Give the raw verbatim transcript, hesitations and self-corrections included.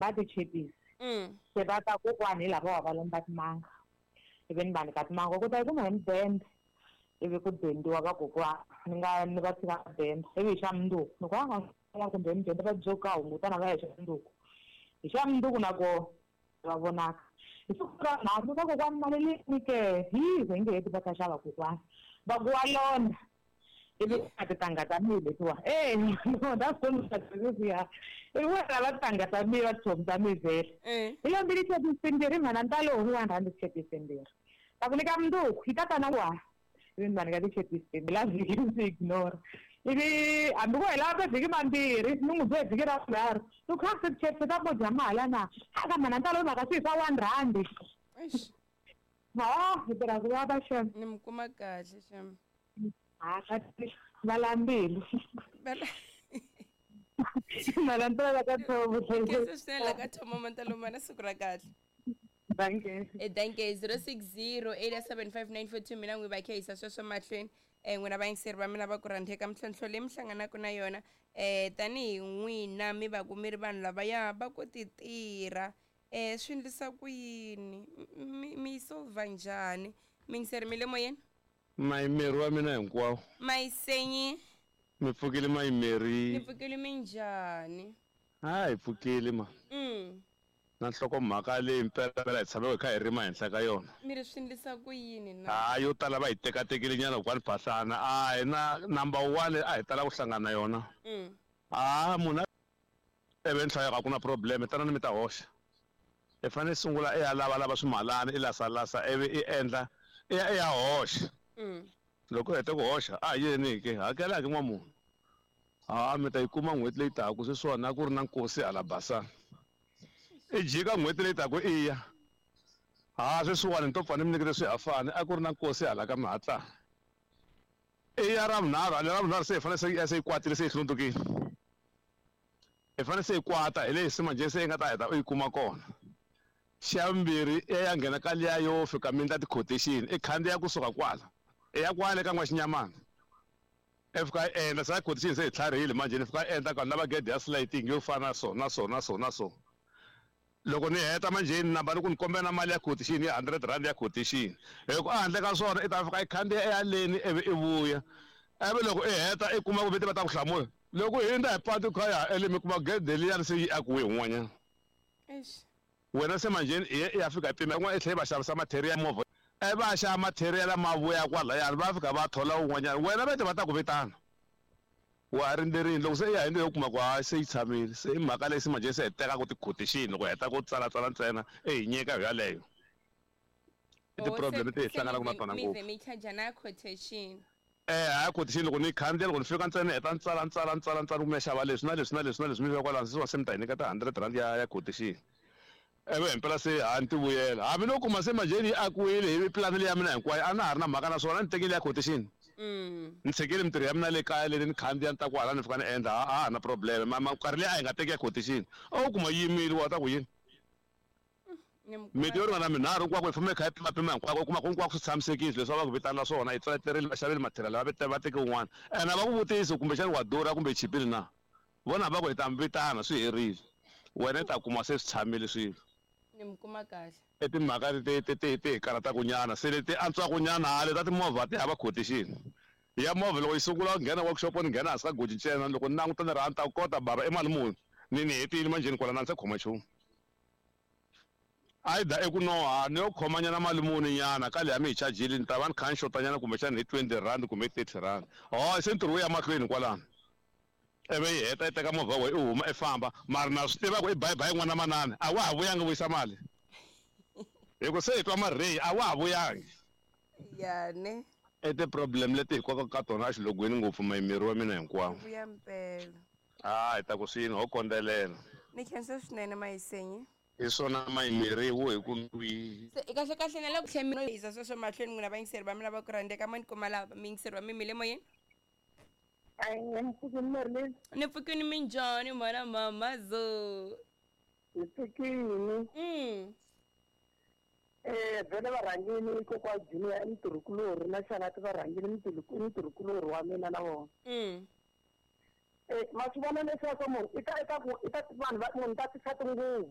Va tichepisi. Mm. Se va ta kokwani hi lava va lomba timanga. Ivi ni va nyika timanga ku ta yi kuma hi mudende. Ivi ku dendiwa va kokwana ni nga ni va tshika denda. Ivi hi xa mundzuku ni ku a kumbe mudende va byo ka hungutana va ya hi xa mundzuku. Hi xa mundzuku na kona va vonaka. Hi siku ra nharhu va kokwani mali leyi ni ke hi hi nge heti va ta xava kokwani. Va ku wa lona. Ivi a tintangha ta mina letiwa. Eh no that's ya. Ivi wena va tintangha ta mina va tichomi ta mina vhele. Eh. Hi lombile tichepisi timbirhi mhana ntalo hi one rand tichepisi timbirhi. Ta ku nyika mundzuku yi ta ta na wa. Ivi ni va nyika tichepisi timbirhi la vhiki ndzi ignore. Ivi hambi ku hela mavhiki mambirhi ni n'wi byela vhiki ra vunharhu ni ku kha se tichepisi ta ku dya mali na. A ka mhana ntalo mhaka swi hi swa one rand. Eish. Ha hi tirha ku vava xem. Ni mi kuma kahle xem. Ha va lambilu. Malantala ka thomo. Khensa swinene la ka thomo Mantalomana siku ra kahle. Dankie. Eh dankie zero six zero eight seven five nine four two mina n'wi va khehisa sweswo mahlweni. Eh n'wina vayingiseri va mina va ku rhandeka mintlhontlho leyi mi hlanganaka na yona eh tanihi n'wina mi va ku mi ri vanhu lavaya va ku ti tirha eh swi endlisa ku yini mi mi yi solve njhani miyingiseri mi le moyeni. Mayimeri wa mina hinkwawo. Mayisenyi. Mi pfukile mayimeri. Ni pfukile minjhani? Ha hi pfukile ma. Mm. Na nhlokomhaka leyi mpela hi tshameke hi kha hi rima henhla ka yona. Mi ri swi endlisa ku yini na? Ha yo tala va hi tekatekile nyana kokwani Phahlana. A hi na number one a hi tala ku hlangana na yona. Mm. A munhu ivi ni hlaya ku na problem tanani mi ta hoxa. I fanele sungula i ya lavalava swimalana i lasalasa ivi i endla i ya i ya hoxa. Mm. Loko u hete ku hoxa a yini ke hakela ke n'wamunhu. Ha mi ta yi kuma n'hweti leyi taka sweswiwani a ku ri na nkosi hala Basani. I jika n'hweti leyi taka i ya. Ha sweswiwani ni to pfa ni mi nyikete swihafani a ku ri na nkosi hala ka Mihatlana. I ya ra vunharhu hale ra vunharhu se hi fanele se se yi kwatile se yi hlundzukile. I fanele se yi kwata hi leyi se manjhe se yi nga ta heta u yi kuma kona. Xa vumbirhi i ya nghena ka liya yo fika mi endla ti-quotation i khandziya kusuka kwala. I ya kwale ka N'waxinyamana. I fika i endla se quotation se hi tlharihile manjhe ni fika i endla ka ni lava gede ya sliding yo fana na so na so na so na so. Loko ni heta manjhe ni namba ni ku ni kombela na mali ya quotation ya hundred rand ya quotation. Hi ku a handle ka swona i ta fika i khandziya i ya leni ivi i vuya. Ivi loko i heta i kuma ku vete va ta ku hlamula. Loko hi hundza hi patu kha ya ele mi kuma gede liyani se yi akiwe hi un'wanyana. Eish. Wena se manjhe i ya fika i pima yin'wana i tlhela i va xavisa material movha. I va xava material ma vuya kwalayani va fika va thola un'wanyana wena vete va ta ku vitana. Wa ha rindzerile loko se i ya hi ndlela yo kuma ku hayi se yi tshamile se i mhaka leyi se manjhe se hi tekaka ti-quotation loko hi heta ku tsalatsala ntsena i hi nyika hi yaleyo. I ti-problem leti hi hlanganaka na tona mi ngopfu. ze mi charge na quotation. Eh ha quotation loko ni khandziya loko ni fika ntsena ni heta ni tsala ni tsala ni tsala ni tsala ku mi ya xava leswi na leswi na leswi na leswi mi fika kwalano se se mi ta hi nyiketa hundred rand ya ya quotation. Ivi himpela se ha ni ti vuyela hambi no kuma se manjhe yi akiwile hi pulani leyi ya mina hinkwayo a na ha ri na mhaka na swona ni tekile ya quotation. Mm. Ni tshikile mintirho ya mina le kaya leyi ni khandziya ni ta kwala ni fika ni endla a ha na problem ma nkarhi leyi a hi nga teki ya quotation a wu kuma yimile wa ta ku yini. Miti yo ringana minharhu hinkwako hi famba hi kha hi pimapima hinkwako u kuma ku hinkwako swi tshamisekile leswi va ku vitanela swona hi tsaleterile va xavile material va va teke un'wana ene a va ku vutisi kumbexani wa durha kumbe yi chipile na vona va ku hi ta mi vitana swi herile wena i ta kuma se swi tshamile swilo. Ni mi kuma kahle. I timhaka leti ti ti ti hi karhataka nyana se leti antswaka nyana hale ta timovha ti hava quotation. Ya movha loko yi sungula ku nghena workshop ni nghena hansi ka goji ntsena loko ni languta ni ri a ni ta kota bava i mali muni ni ni hetile manjheni kwala na ni se khoma nchumu. Either i ku no ha ni yo khoma nyana mali muni nyana ka leyi mi hi chajile ni ta va ni kha ni xota nyana kumbexana hi twenty rand kumbe thirty rand. Ho se ntirho wu ya mahlweni kwalano. Ivi yi heta yi teka movha wa wena i huma i famba mara na swi tiva ku i bye bye n'wana manana a wa ha vuyangi vuyisa mali. Hi ku se hi twa mareyi a wa ha vuyangi. Ya ne. I ti-problem leti hi kokaka ka tona exilogweni ngopfu mayimeri wa mina hinkwawo. Vuya mpela. A hi ta ku swini ho kondzelela. Ni khensa swinene Mayisenyi. Hi swona mayimeri wo hi ku ndwi. Se kahle kahle na le ku tlhela mi yisa sweswo mahlweni n'wina vayingiseri va mina va ku rhandzeka mo ni kuma lava miyingiseri wa mi mi le moyeni. Ni pfukile minjhani mhana mamazo. Ni pfukile. Mm. Eh vele varhangeni kokwa Junior i mutirhikulorhi na Xanati varhangeni mutirhikulorhi wa mina na vona. Mm. Eh ma swi vona leswaku munhu i ta i ta ku i ta vanhu va munhu ta tisa tinguvu.